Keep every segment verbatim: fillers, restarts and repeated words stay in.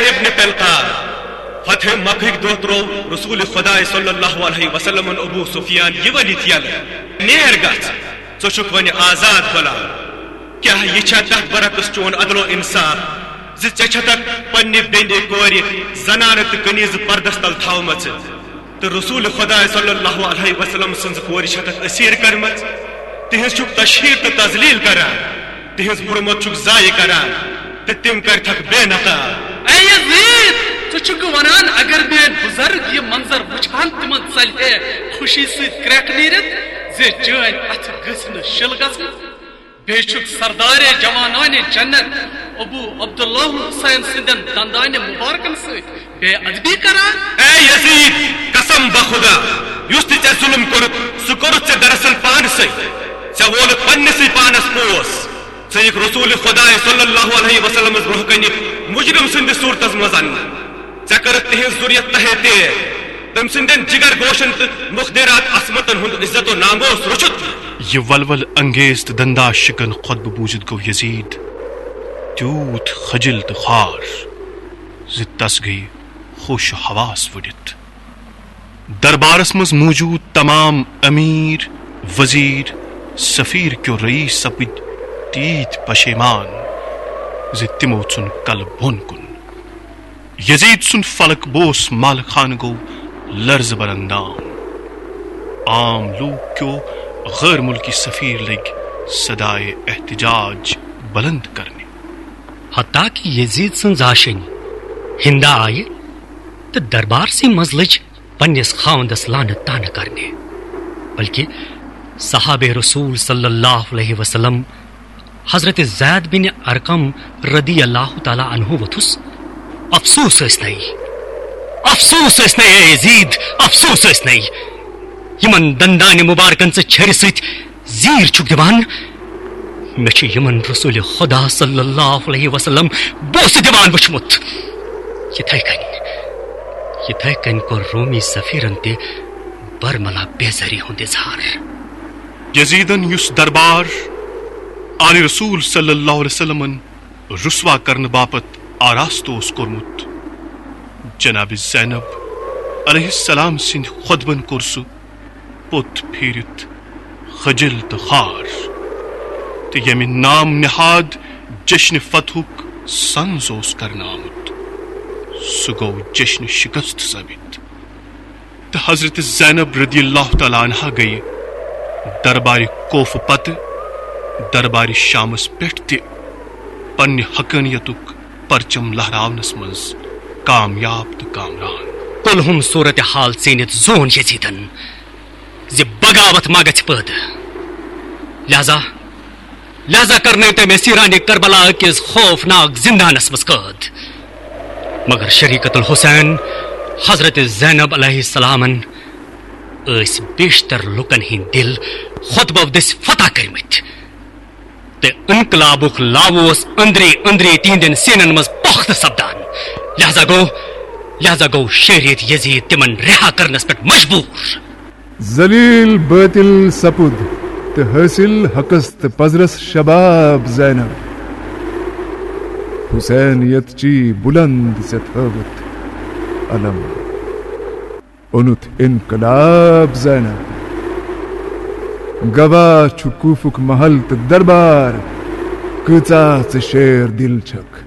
ابن پلقا، فتح مکہٕکۍ دۄہ ترٛوو رسول خداے صلی اللہ علیہ وسلمن ابو سفیان یہِ ؤنِتھ یلہٕ، "نیر گژھ، ژٕ چھُکھ وۄنۍ آزاد غلام۔ کیٛاہ یہِ چھا تتھ برعکس چون عدل و انصاف زِ ژےٚ چھتکھ پننہِ بیٚنہِ، کورِ، زنانہٕ تہٕ کنیزٕ پردس تل تھاومژٕ؟" تہٕ رسول خداے صلی اللہ علیہ وسلم سٕنٛز کورِ چھتکھ اسیر کرمژ، تہنٛز چھکھ تشہیر تہٕ تذلیل کران، تہنٛز حرمت چھکھ ضایع کران، تہٕ تِم کرتھکھ بے نقاب۔ اے یزید، ژٕ چھُکھ ونان اگر میٲنۍ بزرگ یہِ منظر وٕچھان تِمن ژلہِ ہے خوشی سۭتۍ کرٛٮ۪کھ نیٖرِتھ زِ چٲنۍ اتھٕ گٔژھۍ نہٕ شِل گژھٕنۍ؟ بیٚیہِ چھُکھ سردارِ جوانانِ جنت ابو عبداللہ حسین سٕنٛدٮ۪ن دندانِ مبارکن سۭتۍ بے ادبی کران؟ اے یزید، قسم بخدا، یُس تہِ ژےٚ ظلم کوٚرُتھ، سُہ کوٚرُتھ ژےٚ دراصل پانسٕے۔ ژےٚ وولُتھ پننسٕے پانس پوس۔ ژٕ یِکھ رسول خداے صلی اللہ علیہ وسلمس برونٛہہ کنہِ مجرم سٕنٛدِس صورتس منٛز اننہٕ۔ ژےٚ کٔرٕتھ تِہنٛز ذُریت تہے تیر، تٔمۍ سٕنٛدٮ۪ن جگر گوشن تہٕ مخدرات عصمتن ہُنٛد عزت و ناموس رُچھُتھ۔ یہِ ولول انگیز تہٕ دندا شکن خطبہٕ بوٗزِتھ گوٚو یزید تیوٗت خجل تہٕ خوار زِ تس گٔیہِ ہوش و حواس وُڈِتھ۔ دربارس منٛز موجود تمام امیر، وزیر، سفیر کیو رئیس سپٕدۍ تیٖتۍ پشیمان زِ تِمو ژھُن کلہٕ بۄن کُن۔ یزید سُنٛد فلک بوس مال خان گوٚو لرزٕ بر اندام۔ عام لوٗکھ کیو غٲر مُلکی سفیر لٔگۍ صدایے احتجاج بلند کرنہِ۔ حتیٰ کہ یزید سٕنٛز آشِنۍ ہندا آیہِ تہٕ دربارسٕے منٛز لٔج پننِس خاوندس لعنت طعنہٕ کرنہِ، بلکہ صحابہ رسول صلی اللہ علیہ وسلم حضرت زید بن ارقم رضی اللہ تعالیٰ عنہ ووٚتھُس، "افسوس ٲسۍ نے، افسوس ٲسۍ نے اے یزید، افسوس ٲسۍ نے۔ یِمن دندانہِ مبارکن ژٕ چھرِ سۭتۍ زیٖر چھُکھ دِوان، مےٚ چھُ یِمن رسول خدا صلی اللہ علیہ وسلم بوسہٕ دِوان وُچھمُت۔ یِتھے کٔنۍ، یِتھے کٔنۍ کوٚر رومی سفیرن تہِ برملا بیزٲری ہُنٛد اظہار۔" یزیدن یُس دربار آلِ رسول صلی اللہ علیہ وسلمن رسوا کرنہٕ باپتھ آراستہٕ اوس کوٚرمُت، جناب زینب علیہ السلام سٕنٛدِ خطبن کوٚر سُہ پوٚت پھیٖرِتھ خجل تہٕ خوار، تہٕ ییٚمہِ نام نہاد جشن فتحُک سنز اوس کرنہٕ آمُت، سُہ گوٚو جشن شکست ثٲبت۔ تہٕ حضرت زینب رضی اللہ تعالیٰ عنہا گٔیہِ دربارِ کوفہٕ پتہٕ دربارِ شامس پٮ۪ٹھ تہِ پننہِ حقانیتُک پرچم لہراونس منٛز کامیاب تہٕ کامران۔ کلہم صورت حال ژیٖنِتھ زون یزیدن زِ بغاوت ما گژھِ پٲدٕ۔ لہذا، لہذا کرنٲوۍ تٔمۍ اسیرانِ کربلا کِس خوفناک زندانس منٛز قٲد۔ مگر شریکت الحسین حضرت زینب علیہ السلامن ٲسۍ بیشتر لوٗکن ہٕنٛدۍ دِل خطبو دٔسۍ فتح کٔرمٕتۍ۔ تہٕ انقلابُک لاوٕ اوس أنٛدری أنٛدری تِہنٛدٮ۪ن سیٖنن منٛز پۄختہٕ سپدان۔ لہذا گوٚو، لہذا گوٚو شہریت یزید تِمن رہا کرنس پٮ۪ٹھ مجبوٗر۔ ذلیل باطل سپُد تہٕ حٲصِل حقس تہٕ پزرس شباب زینب۔ حسینیت چی بلند ژےٚ تھٲوٕتھ علم۔ اوٚنُتھ انقلاب زینب۔ گواہ چھُ کوفُک محل تہٕ دربار، کۭژاہ ژٕ شیر دل چھکھ۔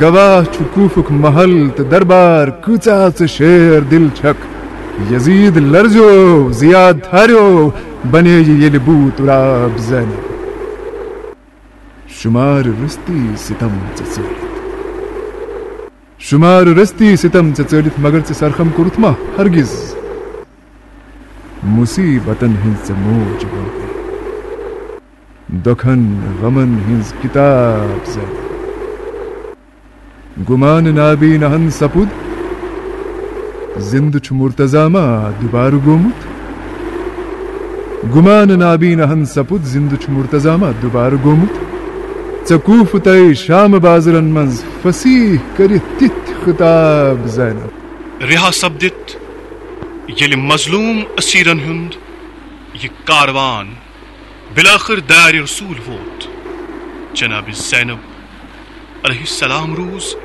گواہ چھُ کوفُک محل تہٕ دربار، کۭژاہ ژٕ شیر دل چھکھ۔ یزید لرزیو، زیاد تھاریو، بنے یہِ ییٚلہِ بوٗ تراب زینب۔ شمار رستی ستم ژےٚ ژٲلِتھ۔ شمار رستی ستم ژےٚ ژٲلِتھ، مگر ژےٚ سرخم کوٚرُتھ ما ہرگز مصیبتن ہٕنٛز ژےٚ موج ووٚن۔ دۄکھن غمن ہٕنٛز کتاب زینب۔ گمان نابینہن سپُد، زندٕ چھُ مرتضی ما دوبارٕ گوٚمُت؟ گمان نابینہن سپُد، زندٕ چھُ مرتضی ما دوبارٕ گوٚمُت؟ ژےٚ کوفہٕ تہٕ شام بازرن منٛز فصیح کٔرِتھ تِتھۍ خطاب زینب۔ رہا سپدِتھ ییٚلہِ مظلوم اسیرن ہُنٛد یہِ کاروان بالآخر دارِ رسول ووت، جناب زینب علیہ السلام روٗز